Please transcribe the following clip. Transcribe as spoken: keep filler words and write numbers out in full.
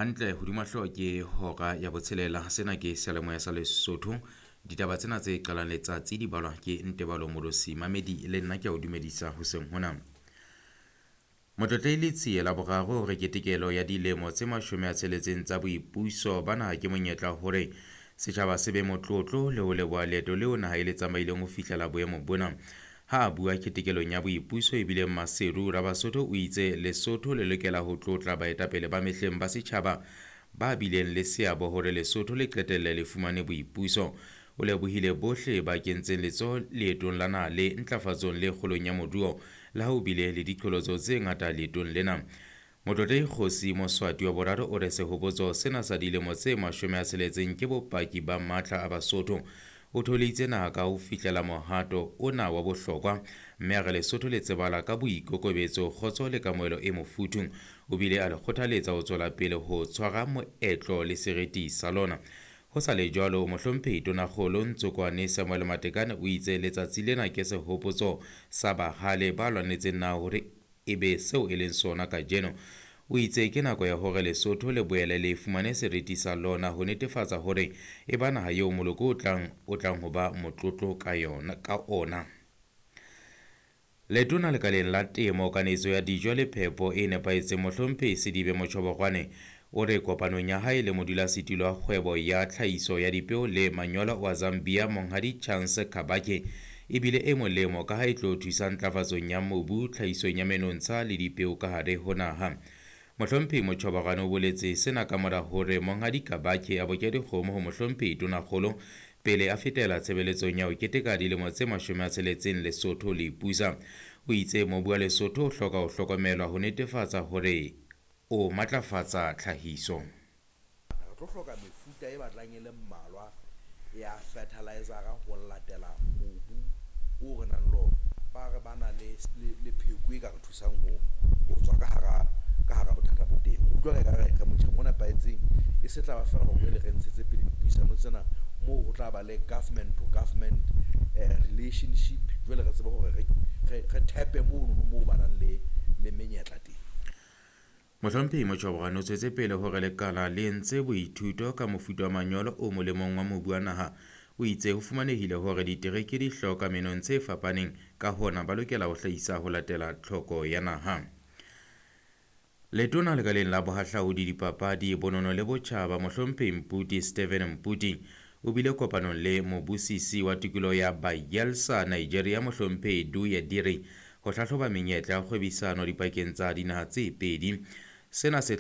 Hantle hodima hlooho ke hora ya botshelela. Sena ke seyalemoya sa Lesotho. Ditaba tsena tse qalang letsatsi di balwa ke Ntebalo Molosi. Mamedi le nna ke a o dumedisa hoseng hona. Motlotlehi Letsie la boraro hore ketekelo ya dilemo tse mashome a tsheletseng tsa boipuso ba naha ke monyetla hore setjhaba se be motlotlo le ho leboha leeto leo naha e le tsamaileng ho fihlela boemo bona. Ha a bua ketekelong ya boipuso e bileng Maseru, Rabasotho o itse Lesotho le lokela ho tlotla baetapele ba mehleng ba setjhaba ba bileng le seabo hore Lesotho le qetelle le fumane boipuso. O lebohile bohle ba kentseng letsoho leetong la naha le ntlafatsong le kgolong ya moruo le ha ho bile le diqholotso tse ngata leetong lena. Motlotlehi Kgosi Moswati wa boraro o re sehopotso sena sa dilemo tse mashome a tsheletseng ke bopaki ba matla a Basotho. O thoholeditse naha ka ho fihlela mohato ona wa bohlokwa mme a re Lesotho le tsebala ka boikokobetso, kgotso le kamohelo e mofuthu. O bile a le kgothaletsa ho tswela pele ho tshwara moetlo le seriti sa lona. Ho sa le jwalo, mohlomphehi Tonakgolo Ntsokoane Samuel Matekane o itse letsatsi lena ke sehopotso sa bahale ba lwanetseng naha hore e be seo e leng sona kajeno. O itse ke nako ya hore Lesotho le boele le fumane seriti sa lona ho netefatsa hore e ba naha eo moloko o tlang o tlang ho ba motlotlo ka yona ka ona. Letona lekaleng la temo, kanetso ya dijo le phepo e nepahetseng mohlomphehi Sedibe Motjhobogwane o re kopanong ya hae le modulasetulo wa kgwebo ya tlhahiso ya dipeo le manyolo wa Zambia Monghadi Chance Kabake e bile e molemo ka ha e tlo thusa ntlafatsong ya mobu, tlhahisong ya menontsha le dipeo ka hare ho naha. Mohlomphehi Motjhobogwane o boletse sena ka mora hore Monghadi Kabake a boke dikgomo ho mohlomphehi Tonakgolo pele a fetela tshebeletsong ya ho keteka dilemo tse mashome a tsheletseng Lesotho le ipusa. O itse mobu wa Lesotho o hloka ho hlokomelwa ho netefatsa hore o matlafatsa tlhahiso. Re tlo hloka mefuta e batlang e le mmalwa ya fertilizer ho latela mobu o re nang le ona. Ba re ba na le le pheko e ka re thusang ho ho tswa ka hara ka hara bothata bo teng. Utlwa re ka re re motjheng o nepahetseng, e se tla ba feela hore jwale re ntshetse pele dipuisano tsena moo ho tla ba le government to government eh, relationship. Jwale re tsebe hore re re re thepe mono moo ba nang le le menyetla teng. Mohlomphehi Motjhobogwane o tswetse pele hore lekala le entse boithuto ka mofuta wa manyolo o molemong wa mobu wa naha. O itse ho fumanehile hore ditereke di hloka menontsha e fapaneng, ka hona ba lokela ho hlahisa ho latela tlhoko ya naha. Letona lekaleng la bohahlaudi, dipapadi, bonono le botjhaba mohlomphehi Mputi Steven Mputi o bile kopanong le mobusisi wa tikoloho ya Bayelsa, Nigeria mohlomphehi Duye Diri ho hlahloba menyetla ya kgwebisano dipakeng tsa dinaha tse pedi. Sena se